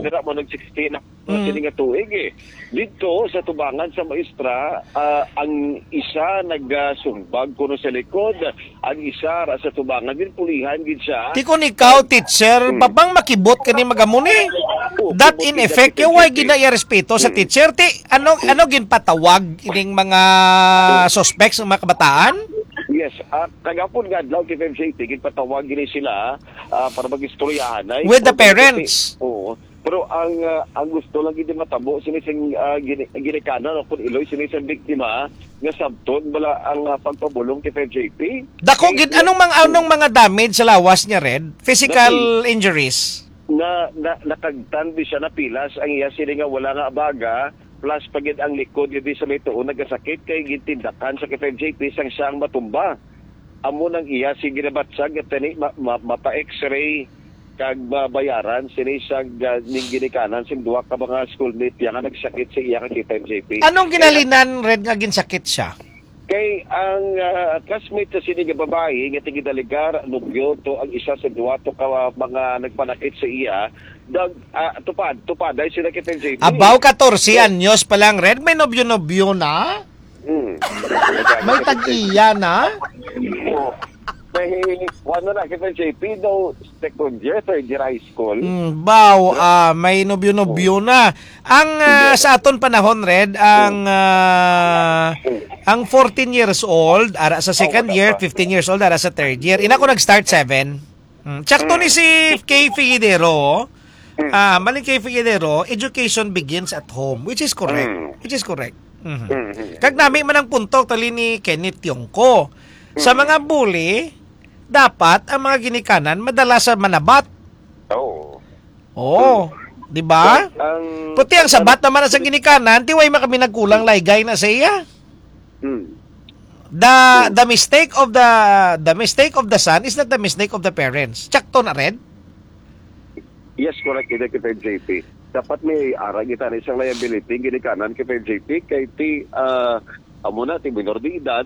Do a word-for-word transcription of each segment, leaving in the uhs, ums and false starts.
Dira mo nag sixteen na Mm. sini nga tuig, eh. Dito sa tubangan sa maestra, ah, ang isa nagasumbag kuno sa likod, ang isa ra sa tubangan, din pulihan gid siya. Ti kun ikaw, teacher, Mm. babang makibot ka ni magamuni? Oo, That kibot in gid effect, ang kay why teacher. gina iya respeto sa Mm. teacher? Ti, ano, ano ginpatawag ining mga Mm. suspects, ang mga kabataan? Yes, ah, kagapon nga adlaw, K five J P, ginpatawag gini sila, ah, para mag-istoryahan, ay, With the kung parents. Oo. Pero ang, ah, ang gusto lang gid matabo sini sing, ah, gini-, ginikanan o kung iloy sini sa biktima nga sabton bala ang, ah, pagpabulong kay Sir J P. Dako gid, Kay anong mga, anong mga damage sa lawas niya, Red? Physical Dati, injuries? na, na, nakagtan di siya, napilas ang iya sini nga wala nga abaga, plus pa gid ang likod gid sa may tuon nagasakit kay gintindakan sa kay Sir J P sang siya ang matumba. Amo nang iya si ginabatsag nga tani ma, ma, mapa-X-ray kag mabayaran sini sa ga-, ning ginikanan sing duha ka mga schoolmate niya nga nagsakit sa iya nga kita, M J P. Anong Kaya ginhalinan, Red, nga ginsakit siya? Kay ang, ah, classmate sa sini nga babayi nga tigidaligar, nobyo to ang isa sa duha to ka mga nagpanakit sa iya, dag, ah, tupad, tupaday sila kita, M J P. Abaw, katorse Yes. anyos pa lang, Red, may nobyo-nobyo na? Hmm. May tag-iya na? Oo. May, ano na, kita, J P, daw, second year, third year high school. Mm, baw, ah, may nobyo-nobyo Oo. na. Ang, ah, Hindi. sa aton panahon, Red, ang, ah, ang fourteen years old, ara sa Oo, second wala year, pa. fifteen years old, ara sa third year. Ina ko nag-start seven. Mm. Tsakto ni Mm. si Kay Figueroa, Mm. ah, maling Kay Figueroa, education begins at home, which is correct. Mm. Which is correct. Mhm. Mm, mm. Kag nami man ang punto, tali ni Kenneth Tiongco. Sa Mm. mga bully, dapat ang mga ginikanan madala sa manabat. Oo. Oo, Mm. di ba? Ang Puti ang sabat naman sa ginikanan, ti way man kami nagkulang laygay na sa iya. Mm. The, Mm. the mistake of the, the mistake of the son is not the mistake of the parents. Tsakto na, Red? Yes, correct. Kita kita, J P. Dapat may ara kita na isang liability, ginikanan kita, J P, kay ti, ah, amo na, ti minor de edad,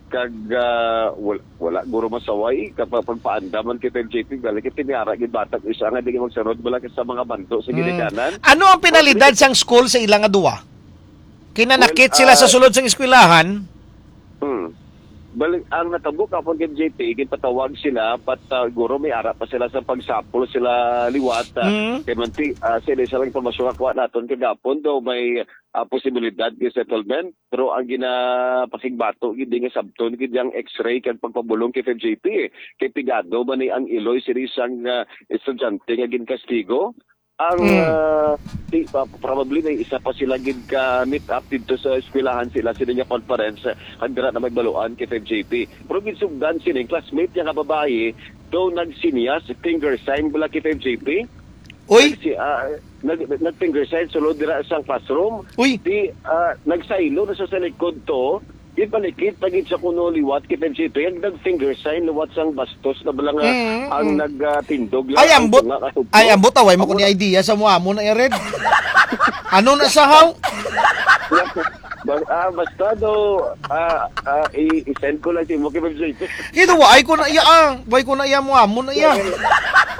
kag, ah, wal-, wala guro masaway, kapag pagpaandaman kita, J P, balik kita may ara gid bata, isa nga di magsunod, wala ka sa mga bando sa Mm. ginikanan. Ano ang penalidad sang school sa ila nga duwa? Kinanakit Well, sila sa ah, sulod sang eskwelahan? Hmm. Balik, ang natabo kapon kay J P, ginpatawag sila, but, ah, guro may ara pa sila sa pagsapol sila liwat, ah, Mm. kay manti, ah, sila sa lang impormasyon nga kuha naton kagapon, daw may, ah, posibilidad kay settlement. Pero ang ginapakigbato gid nga sabton gid ang X-ray kag pagpabulong kay F J P, eh. Kay pigado man ni ang iloy sini sang, ah, estudyante nga ginkastigo. Ang, Mm. ah, di, pa, probably may isa pa sila gid ka meet up dito sa eskwelahan sila, sila nga conference, ah, kag dira na magbaluan kay F J P. Pero ginsugdan sini, classmate niya nga babayi, daw nagsinyas, finger sign bala kay F J P. Uy! Nagsi-, ah, nag-, nag-finger sign sulod dira sa classroom. Uy! Di, ah, nagsaylo na sa, sa likod to, Gipalikit pa gid sa kuno liwat kay F J P, ang nag-finger sign liwat sang bastos na bala nga Mm, ang mm. nagtindog lang Ay, ang ambot. tunga katugtog. Ay, ambot, away mo Amo ko ni na idea sa mo amo na, Red. Ano na sa haw? Ba-, ah, basta do, ah, ah, i-, i-send ko lang sa imo kay F J P. Ito, why ko na iya, ah? Why ko na iya mo amo na iya?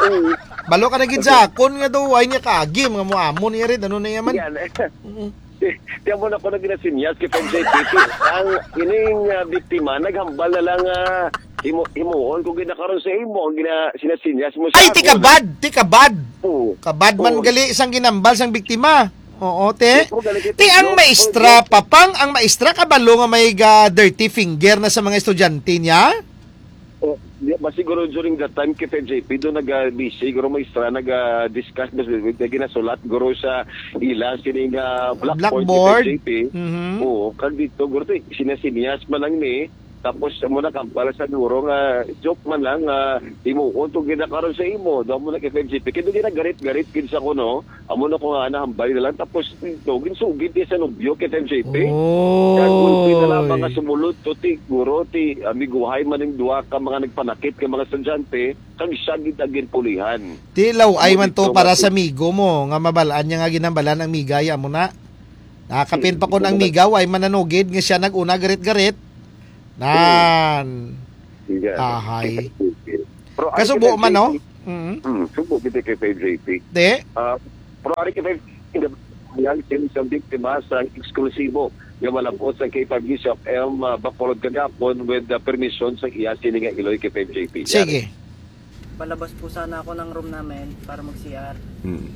Mm. Balo ka na gid sa akon nga do, why niya kaagim nga mo amo ni Red? Ano na iya man? Yan. Mm. Kaya mo na ko na ginasinyas kay F J P T. Ang ining, ah, biktima, naghambal na lang, ah, himo-, himuon ko gid na karon sa imo, ang gina-, sinasinyas mo sa Ay, ti akon. kabad, ti kabad. Oo. Kabad man Oo. gali sang ginambal sang biktima. Oo, te. Oo, gali kay Ti ang Pedro. maestra, Oo, papang ang maestra kabalo nga may ga dirty finger na sa mga estudyante niya? Oh, di, ba siguro during that time kay F J P, doon naga-busy, siguro may istra, naga-discuss, mas, may ginasulat, guro sa ila, sini nga blackboard, Blackboard? kay F J P. Mhm. Oo, kag dito, guro, to, sinasinyas man lang ni, tapos mo na kampal sa guro nga, joke man lang, nga, imo, kung itong ginakaroon sa imo, doon mo na kay F J P. Kaya doon ginagarit-garit, kinsa ko, no? Amo na ko nga nahambal na lang. Tapos, ito, ginsugid niya sa nobyo kay F J P. Oy. Kag gulpi na lang mga sumulod to, ti, guro, ti, amiguhay man ning duha ka mga nagpanakit ka mga estudyante, kag siya gid ang ginpulihan. Ti, law-ay Amo man to dito para nga sa si migo mo, nga mabalaan niya nga ginambalan ang migaya mo na. Nakakapin pa Hmm, kun ang ito na. miga, ay mananugid nga siya nag-una garit-garit. Nan. Sige. Ahay. Pero ay Kasubo sila man, no? J P. Mm. Hmm, subo kita kay J P. Di? Ah, Pero ari ka five J P, ang sin sa biktima sa eksklusibo nga malab-ot sa K five News F M, ah, Bacolod kagapon with the permission sa iya sini nga Iloy K five J P. Sige. Palabas po sana ako ng room namin para mag-C R. Hmm.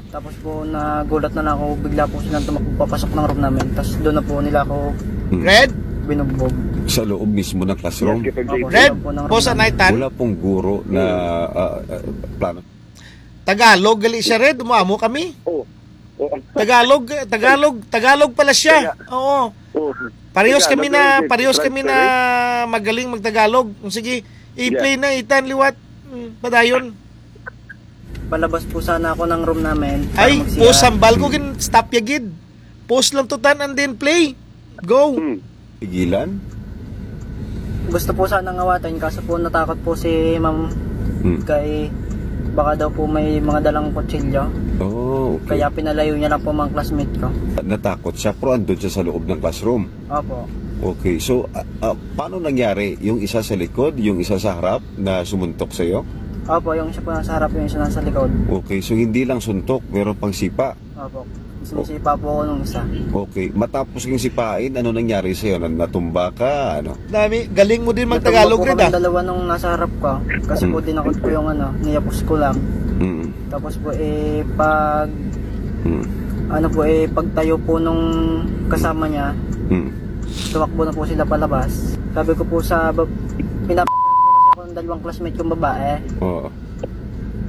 Tapos po, nagulat na lang ako, bigla po silang tumakbo papasok ng room namin. Tas doon na po nila ako Hmm. Red? binugbog. Sa loob mismo ng classroom? Yes, K five J P. Opo, Red, sa loob po ng room posa namin. Naitan. Wala pong guro na, Hmm. ah, ah, plano. Tagalog, gali siya, Red. Umuamo kami. Oh. Oh. Tagalog, Tagalog, Tagalog pala siya. Kaya Oo. Oh. Parehas Tagalog kami na, na, parehos kami na transparent. Magaling magtagalog. Sige, i-play Yeah. na, Itan, liwat. Hmm, padayon. Palabas po sana ako ng room namin para Ay, mag-C R. Pause, hambal ko, Hmm. gin-stop ya gid. Pause lang to, Tan, and then play. Go. Hmm. Pigilan? Gusto po sana ngawatin, kaso po natakot po si ma'am Hmm. kay baka daw po may mga dalang kutsilyo. Oh, okay. Kaya pinalayo niya lang po mga classmate ko. Natakot siya, pero andun siya sa loob ng classroom? Opo. Okay, so, ah, ah, paano nangyari? Yung isa sa likod, yung isa sa harap na sumuntok sa'yo? Opo, yung isa po nasa harap, yung isa nasa likod. Okay, so hindi lang suntok, meron pang sipa? Opo. Sinisipa po ako nung isa. Okay, matapos yung sipain, ano nangyari sa'yo? Na-, natumba ka? Ano? Dami, galing mo din Natumba magtagalog, po Red, kaming ah. dalawa nung nasa harap ko. Kasi po, Mm. dinakot ko yung ano, niyapos ko lang. Mm. Tapos po, eh, pag, Mm. ano po, eh, pagtayo po nung kasama niya, Mm. tumakbo na po sila palabas. Sabi ko po sa bab-, pinap-, po kasi ako ng dalawang classmate kong babae. Oo.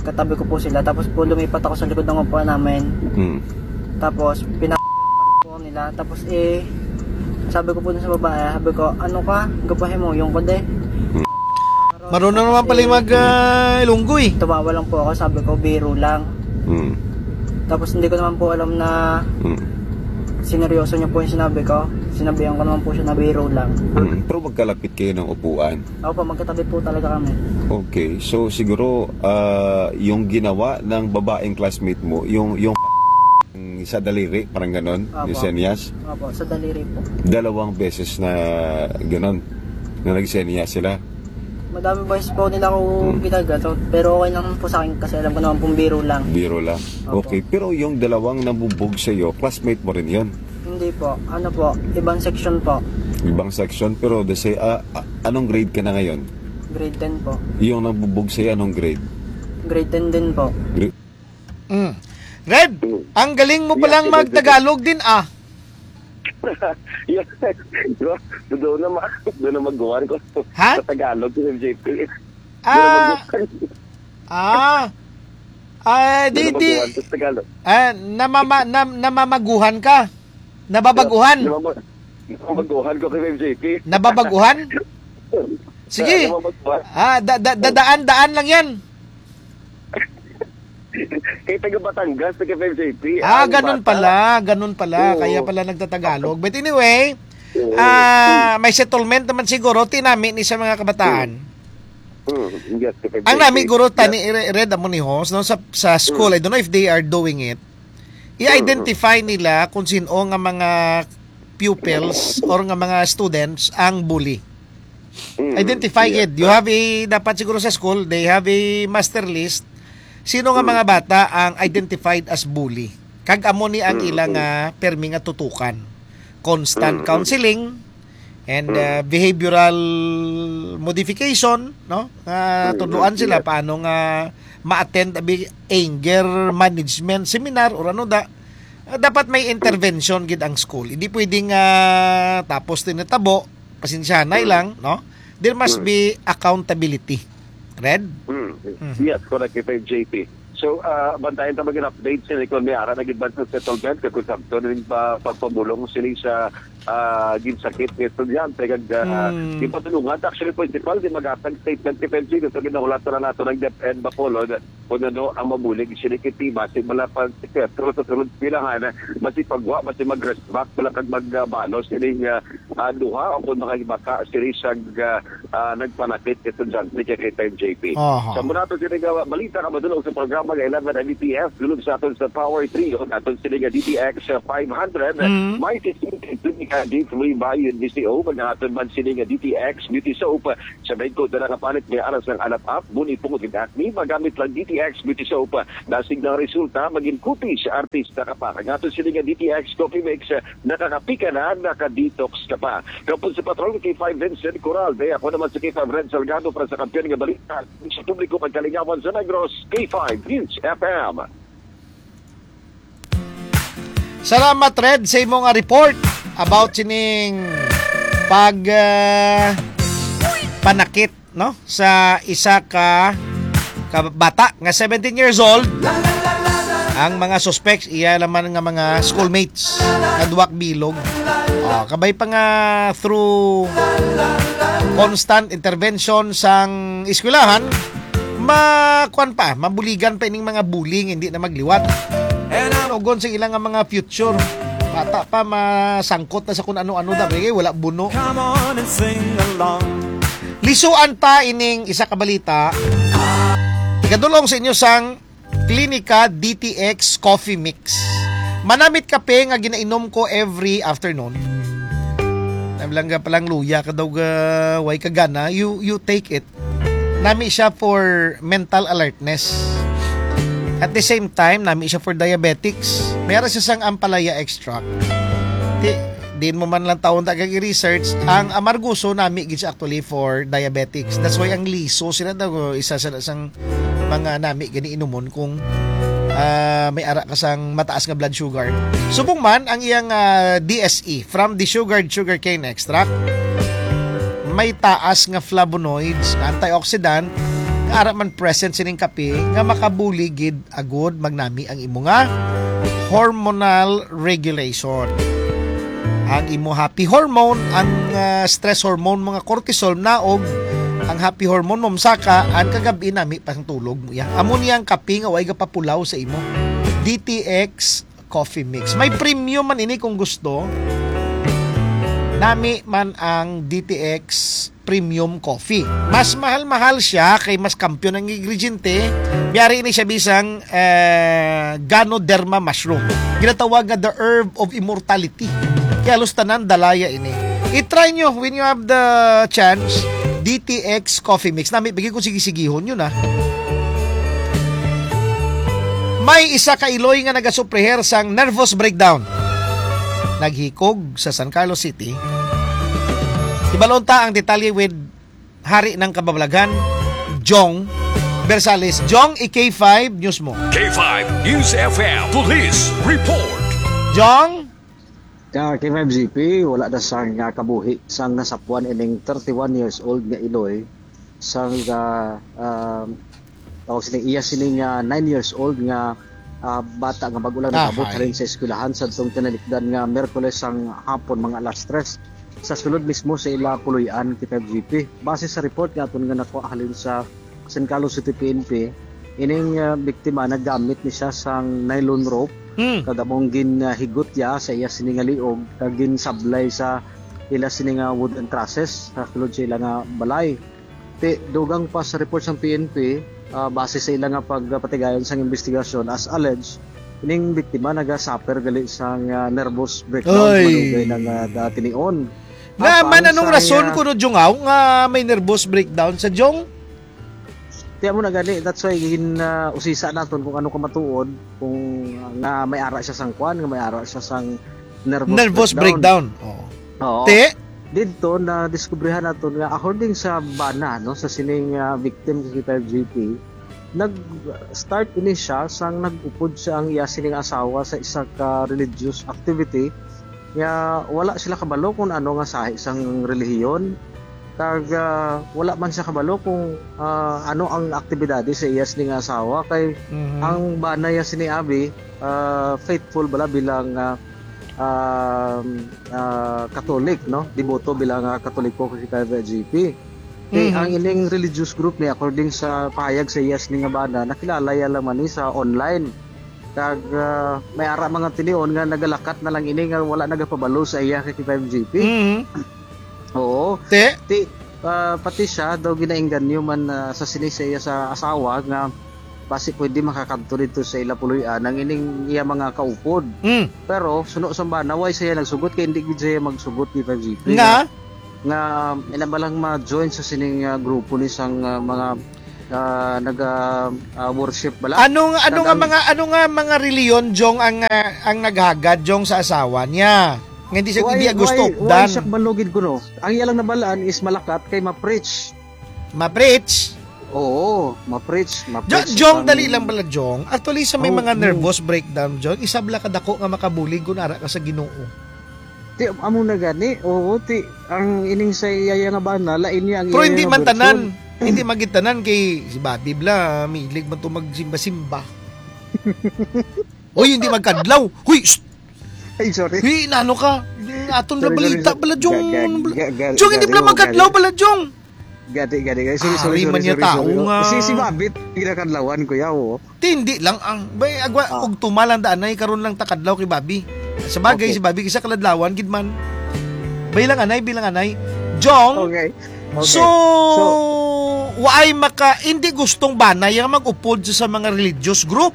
Katabi ko po sila. Tapos po, lumipat ako sa likod ng upuan namin. Mm. Tapos, pina-, po nila. Tapos, eh, sabi ko po dun sa babae, sabi ko, "Ano ka? Gapahe mo, yung ko de." Mm. Marunong naman pala yung mag, ah, Ilonggo eh. Tumawa lang po ako, sabi ko, "Biro lang." Mm. Tapos, hindi ko naman po alam na Mm. sineryoso niya po yung sinabi ko. Sinabihan ko naman po siya na biro lang. Mm. Pero magkalapit kayo ng upuan. Opo, magkatabi po talaga kami. Okay, so siguro, ah, yung ginawa ng babaeng classmate mo, yung, yung sa daliri, parang ganon, Opo. yung senyas? Opo, sa daliri po. Dalawang beses na ganon, na nagsenyas sila? Madami beses po nila ako Hmm. ginagato, pero okay lang po sa akin kasi alam ko naman pong biro lang. Biro lang. Opo. Okay, pero yung dalawang nabubog sa'yo, classmate mo rin yun? Hindi po. Ano po? Ibang section po. Ibang section, pero the say, ah, ah, anong grade ka na ngayon? Grade ten po. Yung nabubog sa'yo, anong grade? Grade ten din po. Grade Mm. Red, Mm. ang galing mo Yeah, palang sige, sige. magtagalog din, ah. Yes. Doon na ma-, doon na maguhan ko Ha? sa Tagalog, sa M J P. Ah. Doon na maguhan. Ah. Ah, Doon di, na di, maguhan sa Tagalog. ah, namama-, nam-, namamaguhan ka? Nababaguhan? Namama-, namamaguhan ko kay M J P. Nababaguhan? Sige. Namamaguhan. Ah, da-, da-, da-, daan-daan lang yan. Kay taga Batangas, taga M J P, Ah, ang ganun bata. pala, ganun pala. Oo. Kaya pala nagtatagalog. But anyway, Oo. ah, may settlement naman siguro, tinami ni sa mga kabataan. Mm. Mm, yes, kay Ang M J P. nami, guro, Yeah. tani, i-, i-read mo ni host, no, sa, sa school, Mm. I don't know if they are doing it. I-identify Mm. nila kung sino nga mga pupils or nga mga students ang bully. Mm. Identify Yeah. it. You have a, dapat siguro sa school, they have a master list. Sino nga Mm. mga bata ang identified as bully? Kag amo ni ang Mm, ila mm. nga permi nga tutukan. Constant Mm, mm. counseling and, Mm. uh, behavioral modification, no? Nga Mm, tudloan mm, sila yes. paano nga ma-attend abi anger management seminar or ano da. Uh, dapat may intervention gid ang school. Hindi pwedeng, uh, tapos din natabo, pasensyahanay Mm. lang, no? There must Mm. be accountability. Red? Mm. Mhm. Yes, correct, kay J P. So, ah, bantayan ta magin update sini kung may ara na gid ba sa settlement, kag kung sabton rin pa pagpamulong sini sa, ah, ginsakit nga estudyante, kag, ah, Hmm. ginpatulungan ta actually principal, di maghatag statement kay J P, gusto ginahulat na nato ng DepEd Bacolod kung ano ang mabulig sini kay T. Basi wala pa sa sunod pilahan, basi pagwa, basi mag-rest back, wala kag mag, ah, balo sini, ah, ah, duha o kung makahibata sini sa, ah, ah, nagpanakit estudyante kay, kay J P. Aha. Sa muna to sini nga balita nga madulog sa programa nga eleven M B P F, dulog sa aton sa Power Trio, aton sini nga D T X five hundred, Mm. may sisig twenty Nga D three Bio and D C O, maghahatod man sini nga D T X Beauty Soap. Sa bangko na nakapalit may aras ng alap-ap, buni, pungot, ug acne, magamit lang D T X Beauty Soap. Dasig ng resulta, maging kutis sa artista ka pa. Ang ato sini nga D T X Coffee Mix, nakakapi ka na, naka-detox ka pa. Kapon sa patron, K five Vincent Coral. Day ako naman sa K five Red Salgado para sa kampiyon nga balita sa publiko, pagkalingawan sa Negros, K five News F M. Salamat, Red, sa imo nga report about sining pag ah, panakit, no, sa isa ka, ka bata nga seventeen years old. Ang mga suspects, iya naman nga mga schoolmates nga duwak bilog. Ah, kabay pa nga through constant intervention sang eskwelahan, ma kuan pa, mabuligan pa ining mga bully nga hindi na magliwat. Ugon sa ilang nga mga future. Bata pa, masangkot na sa kung ano-ano da, kay wala buno. Come on and sing along. Lisuan ta ining isa ka balita. Igadulong sa inyo sang Clinica D T X Coffee Mix. Manamit kape nga ginainom ko every afternoon. Nablang ka palang luya ka daw ga, way ka gana, you, you take it. Nami siya for mental alertness. At the same time, nami siya for diabetics. Mayroon siya sang ampalaya extract. Di, din mo man lang taon ta kag i-research, ang amargoso nami gid siya actually for diabetics. That's why ang liso sila daw isa sa sang mga nami gani inumon kung ah, may ara ka sang mataas nga blood sugar. Subong man ang iyang ah, D S E from the sugared sugarcane extract, may taas nga flavonoids, antioxidant, nga ara man present sining kape nga makabulig gid agud magnami ang imo nga hormonal regulation. Ang imo happy hormone, ang ah, stress hormone, mga cortisol, naog ang happy hormone mo, masaka ang kagab-i nami pang tulog mo ya. Amo niya ang kape nga way gapapulaw sa imo. D T X Coffee Mix. May premium man ini kung gusto. Nami man ang D T X Premium Coffee. Mas mahal-mahal siya kay mas kampiyon ang ingrediente. Biyari ini siya bisang eh, Ganoderma mushroom. Ginatawag nga the herb of immortality. Kaya halos tanan dalaya ini. I-try nyo when you have the chance, D T X Coffee Mix. Nami, bigay ko sige-sigihon yun, ah. May isa ka iloy nga nagasupreher sang nervous breakdown. Naghikog sa San Carlos City. Ibalon ta ang detalye with hari ng kababalaghan, Jong Bersales. Jong, i-K five News mo. K five News F M Police Report. Jong? Ka K five G P, wala na sang ah, kabuhi sang nasapuan ining thirty-one years old nga iloy sang ah, ah, tawag sini iya sini nga nine years old nga ah, bata nga bag-o lang Ah, nag-abot hi. halin sa eskwelahan sa tong tinalikdan nga Miyerkules sang hapon, mga alas tres, sa sulod mismo sa ila puloy-an, K five G P. Base sa report nga aton nga nakuha halin sa San Carlos City P N P, ining ah, biktima naggamit ni siya sang nylon rope Hmm. kag among ginhigot ya sa iya sini nga liog kag ginsablay sa ila sini nga wooden trusses sa sulod sa ila nga balay. Ti, dugang pa sa report sang P N P, ah, base sa ila nga pagpatigayon sang investigasyon, as alleged, ining biktima nagasuffer gali sang ah, nervous breakdown Oy. Malugay na nga ah, tinion. Nga Apan man anong sa rason iya kuno, Jungaw, nga may nervous breakdown sa Jong? Kaya mo na gani, that's why gin uh, usisa naton kung ano ka matuod, kung uh, nga may ara siya sang kwan, nga may ara siya sang nervous, nervous breakdown. breakdown. Oo. Oo. Te? Dito na diskubrihan naton nga according sa bana no sa sining uh, victim sa K five G P, nag-start ini siya sang nag-upod siya ang iya sining asawa sa isa ka religious activity nga wala sila kabalo kung ano nga sahi sang relihiyon. Kag ah, wala man siya kabalo kung ah, ano ang aktibidades sa iya sini nga asawa kay Mhm. ang bana niya sini abi ah, faithful bala bilang ah, ah, ah, Catholic, no? Deboto bilang ah, Katoliko kay K five G P. Kay Mhm. ang ining religious group ni according sa pahayag sa iya sini nga bana, nakilala ya lang man ni sa online. Kag ah, may ara mga tinion nga nagalakat na lang ini nga wala nagapabalo sa iya kay K five G P. Mhm. Oo. Te? Ti, ah, pati siya daw ginaengganyo man ah, sa sini sa iya sa asawa nga basi pwede makakadto dito sa ila puloy-an ang ining iya mga kaupod. Mm. Pero suno sa bana, way siya nagsugot kay hindi gid siya magsugot kay five G P. Nga? Nga ila ba lang ma-join sa sining ah, grupo ni sang ah, mga ah, nag ah, ah, worship bala? Anong ano nga Tandaan- mga ano nga mga reliyon, Jong, ang ah, ang naghagad, Jong, sa asawa niya? Nga hindi siya Why, hindi gusto why, updan. Why siya malugid ko, no? Ang ilang nabalaan is malakat kay ma-preach. Ma-preach. Oo, ma-preach, Jo- ma-preach. Jong, ang- dali lang pala, Jong. Actually, sa may Oh, mga mm. nervous breakdown, Jong, isa bala ka dako nga makabulig kung ara ka sa Ginoo. Ti, amo na gani. Oo, ti, ang ining sa iyaya nga bana, lain niya ang Pero iyaya hindi nga man version. tanan. Hindi man gid tanan kay si Bobby bla, milig man to magsimba-simba. Oy, hindi magkadlaw. Huy, shh! Ay, sorry. Hey, nano ka? Aton na Sorry, balita sorry. pala, Jong. Ga- ga- ga- ga- Jong, hindi ga- pala ga- magkadlaw ga- pala, Jong. Gadi, gadi, gadi. Sorry, Ah, sorry, ari man sorry, niya sorry, tao sorry. nga. Si, si Babit, ginakadlawan ko yaw. Ti, hindi lang ang, bay, agwa, Ah. og tumalan da, anay, karon lang takadlaw kay Bobby. Sa bagay, Okay. si Bobby, isa kaladlawan, gid man. Bay lang, anay, bilang, anay. Jong, Okay. Okay. so, waay maka, hindi gustong banay ang mag-upod sa, sa mga religious group.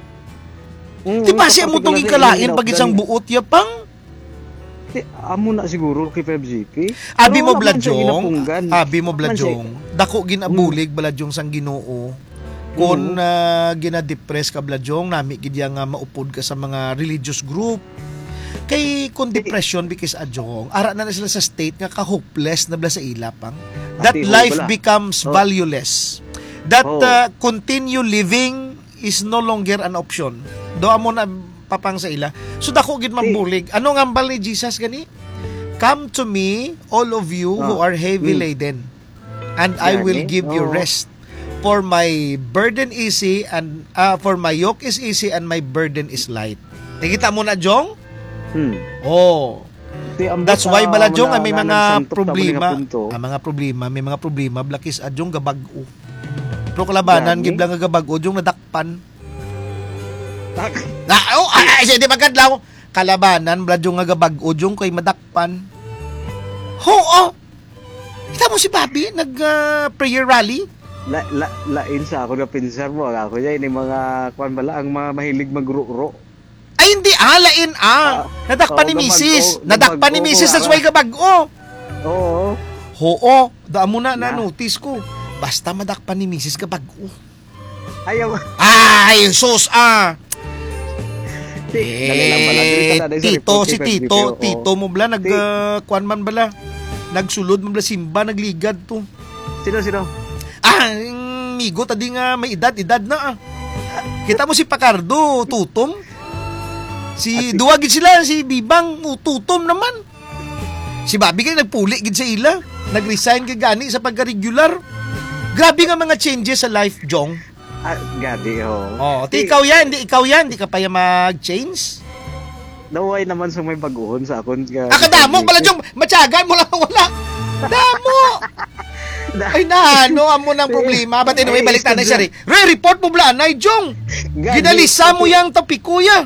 Mm, Di ba sa siya mo tong particular ikalain na pag isang ina-, buot yapang? Ti, amo na siguro kay five G P. Abi Pero mo, wala man siya Bladjong. ginapunggan. Abi mo, Wala man Bladjong. siya. Dako ginabulig, Bladjong, sang Ginoo. Kung Mm. ah, ginadepress ka, Bladjong, nami gid ya nga maupod ka sa mga religious group. Kay kung depression, because adjong, ara na, na sila sa state nga ka-hopeless na bala sa ila pang. That Ati, life wala. becomes Oh. valueless. That Oh. ah, continue living is no longer an option. Do amo na papang sa ila. So dako gid mabulig. Ano nga hambal ni Jesus gani? "Come to me, all of you who Oh. are heavy Mm. laden, and I will Gani? give you Oh. rest. For my burden easy and ah, for my yoke is easy and my burden is light." Nakita mo na, Jong? Hmm. Oh. Ti, ang That's buta, why bala, Jong, mga ay may nga mga nagsantok sa problema. mga punto. Ah, mga problema, may mga problema, Blakis, ah, Jong, gabag-o. Pero kalabanan, Gani? gid lang nga gabag-o, Jong, nadakpan. Tak. Na, oh, ay, ay, siya, di magkadlaw. Kalabanan, bala, Jong, nga gabag-o, Jong, kay madakpan. Oo. Kita mo si Bobby, nag ah, prayer rally? La, la, lain sa ako na pinsar mo, ako niya, ini mga, kwan bala, ang mga mahilig magro-ro. Ay, hindi, ah, lain, ah. Ah, Nadakpan oh, ni gabag-o, misis. Nadakpan ni gabag-o, misis, that's ah. Why gabag-o. Oo. Oo, damo na Na. na-notice ko. Basta madakpan ni misis, gabag-o. Ayaw. Ay, sus, ah. Ti, dali lang pala, dili ka na, dali sa Tito, report si kay Tito, Pedro, oo. Tito mo bala, nag, Ti- ah, kuwan man bala. Nagsulod man bala simba, nagligat to. Sino, sino? Ah, ang migo, tadi nga may edad, edad na, ah. Kita mo si Pacardo, tutom. Si, Ah, si- duwa gid sila, si Bibang, o, tutom naman. Si Bobby kay nagpuli gid sa ila. Nag-resign gid gani sa pagka-regular. Grabe nga mga changes sa life, Jong. Ah, gadi, ho. Oh, ti ikaw yan, di ikaw yan, di ka pa yan mag-change. Naway naman sa may baguhon sa akon nga Ah, kadamo pala, Jong. Matyagan mo lang wala. Damo. Ay, na, ano, amo nang problema. But anyway, Eh, balik na na siya, istorya. Re. Re, report mo bala, anay, Jong. Gani, Ginalisa mo okay. Yang topiko ya.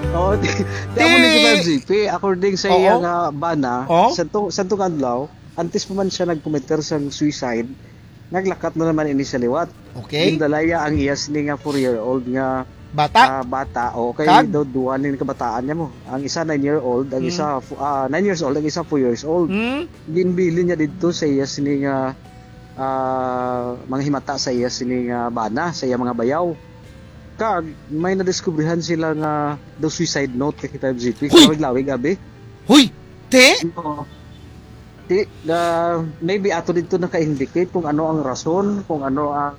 Oh, ti, ti amo ni Kuya G P, according sa Oo. iya nga bana, Oo. sa to, sa tong adlaw, antes pa man siya nag-commit sang suicide, naglakat na naman ini sa liwat. Okay. Gindala iya ang iya sini nga four-year-old nga Bata. ah, bata. O kay Kag? Daw duha ni kabataan niya mo. Ang isa nine year old, ang Hmm. isa fu- ah, nine years old, ang isa four years old. Hmm? Ginbilin niya didto sa iya sini nga ah, mga himata sa iya sini nga bana, sa iya mga bayaw. Kag may nadiskubrihan sila nga daw suicide note kay five G P. Huy! Lawig-lawig, abi. Huy! Te? Oo. Di, ah, maybe ato dito naka-indicate kung ano ang rason, kung ano ang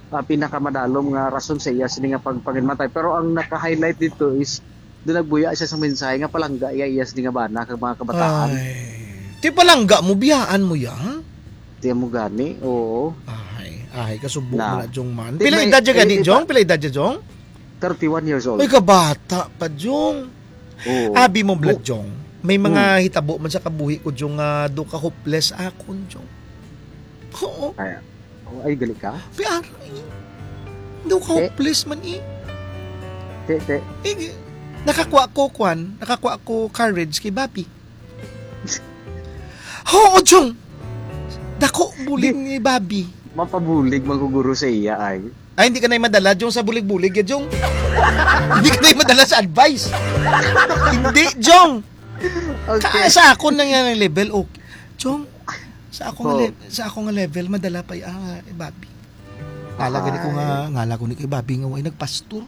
ah, pinakamadalom nga rason sa iya sini nga pagpanginmatay. Pero ang naka-highlight dito is doon nagbuya siya sa mensahe nga palangga iya iya sini nga bana kag mga kabataan. Ay. Ti palangga mo, biyaan mo ya? Di mo gani, oo. Ay, ay, kasubo Na. mo na, Jong, man. Di Pila may- edad ya gani, eh, Jong? iba- Pila edad ya, Jong? Thirty-one years old. Ay, kabata pa, Jong. Oo. Abi mo, Blood, Oh. Jong. May mga Hmm. hitabo man sa kabuhi ko, Jong, nga do ka hopeless akon, Jong. Oo. Ay, oh, ay, gali ka? Pero, eh, do ka Eh? hopeless man, eh. Te, te. Eh, nakakuha ko, kwan, nakakuha ko courage kay Bobby. Oo, Jong. Dako bulig Di- ni Bobby. Mapabulig man ko guro sa iya ay. Ay, hindi ka na madala, Jong, sa bulig-bulig, ya, Jong. Hindi ka na madala sa advice. Hindi, Jong. Okay. Ka-, sa akon lang yan ang level, okay. Jong, sa akong Oh. le-, sa akong level, madala pa yung, ah, eh, Bobby. Ngala gani ko nga, Ay. ngala ko ni kay Bobby nga way nagpastor.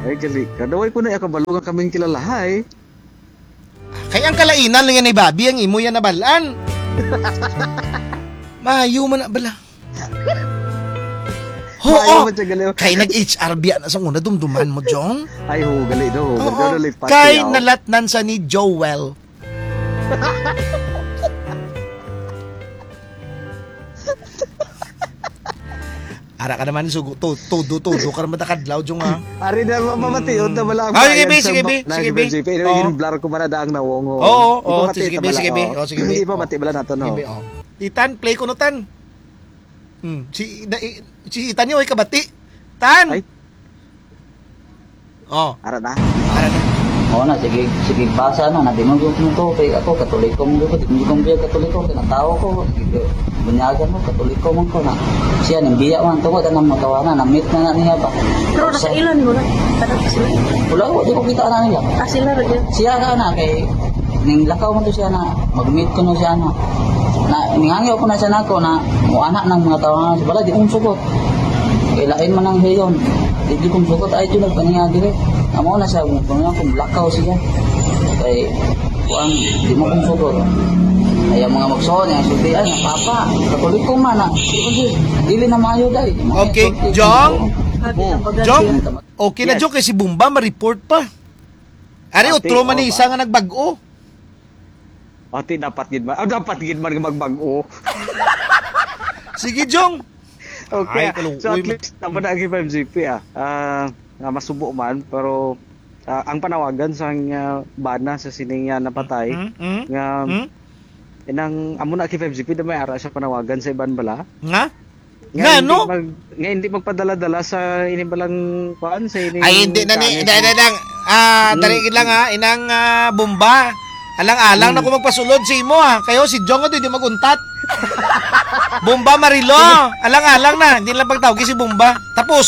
Ay, gali ka. Daway ko na ikabalo nga kaming kilalahay. Kay ang kalainan lang yan ni Bobby, ang imo yan nabalaan. Mayo man na bala. Ho, Mayo oh. man siya, gali. Kay nag-H R B na sa una, dumduman mo, Jong? Ay, ho, gali, no. Oo. Gali, gali, pati, Kay oh. nalatnan sa ni Joel. Ara ka naman, sugo, to-, todo, todo ka naman takadlaw, Jong, ha? Ari na, ma-, mamatiyon na wala ang Ah, sige, bayad be, sa sige, be, ma-, sige, sige, be. P F G P. Anyway, Oo. yung blur ko man na daang nawong, oh. Oo, oo, Ipamati sige, ta be, bala, sige, be. oh. Oh, sige, be. Ipamati bala nato, no? Sige, be, oh. Di Tan, play ko no, Tan. Hmm, si, na, i-, si Tan yung ay kabati. Tan! Ay. Oh. Ara na. Ara na. Oo na, sige, sige, basa na, nabinugog mo ko, kay ako, Katoliko mo ko, di mo ko Katoliko, kay natawo ko, sige, bunyagan mo, Katoliko man ko na. Siya, nang biya man, tungod, anang matawanan, na-meet na na niya ba? Pero Sa- nakailan mo na? Kada pa sila? Wala ko, di ko kita na niya. Ah, sila rin yun. Siya ka na, kay, ning lakaw mo to siya na, mag-meet ko na siya na. Na, ningangyo ko na siya nako na, mo anak ng mga tawanan, sa balay, di kong sugot. Kay lain man ang hiyon. Di, di kong sugot, ay, ito nagpaninga dire. Amo na siya, kung, kung, kung lakaw siya. Kay, kuan, di mo kong sugot. Ay, ang mga magsuon, yung sultian, yung papa, Katoliko man, ah. Di, di, dili na maayo, day. Mga Okay, sulti, Jong? Sabi ng Oh, pagkakita. Jong? Okay na, Yes. Jong, kay si Bumba, ma-report pa. Ari, Ate, utro man ni oh, isa ba? nga nagbag-o. Ate, dapat gid man. Ah, dapat gid man nga magbag-o. Sige, Jong. Okay. Ay, kaluoy So, at mo. least, tama na ang five G P, ah. Ah, nga masubo man, pero, ah, ang panawagan sa, ah, bana sa sining, ah, napatay, Mm, mm, nga, mm. inang, amo na kay five G P, na may ara siya panawagan sa iban bala. Nga? Nga Nga, hindi no? mag-, nga hindi magpadala-dala sa ini balang, kuan, sa ini Ay, hindi na ni, kani dahil sa na lang, ah, Hmm. dali lang, ha, inang, ah, Bomba. Alang-alang na Hmm. ko magpasulod sa imo, ha. Kayo, si Jong, hindi mag-untat. Bomba Marilo, alang-alang na. Hindi lang pagtawag si Bomba. Tapos,